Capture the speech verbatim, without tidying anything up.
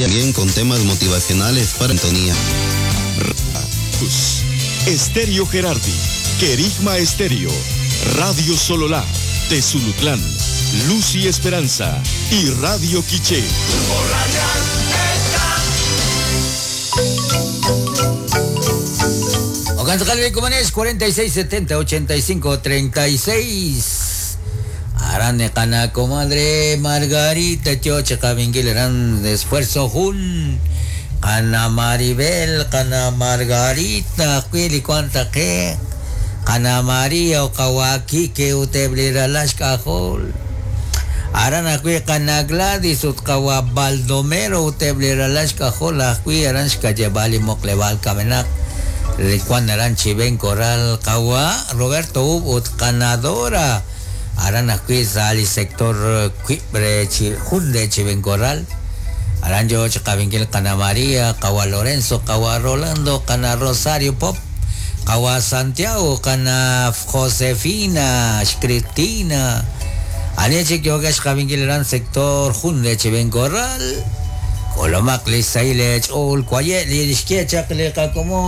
Bien con temas motivacionales para Antonía. Estéreo Gerardi, Querigma Estéreo, Radio Sololá, Tezulutlán, Luz y Esperanza y Radio Quiché. cuarenta y seis setenta ochenta y cinco treinta y seis. Arane cana comadre Margarita Choche Cabinguil eran de esfuerzo jun. Cana Maribel, cana Margarita, cuili cuanta que. Cana María o Kawaki que uteblira las cajol. Arana cui cana Gladys utkawa Baldomero uteblira las cajol cui aranska llevali moklebal kamenak. Juan Aranchi Ben Corral Kawa Roberto Ubut Canadora Arana Cuizali sector Cuibre Junde Chiven Corral Aranjo Chacavinquil Cana María Kawa Lorenzo Kawa Rolando Cana Rosario Pop Kawa Santiago Cana Josefina Cristina Aneche Kyogash Cavinquil Aran sector Junde Chiven Corral Colomac Lisailech Ol Cuayet Lishkechak Leca como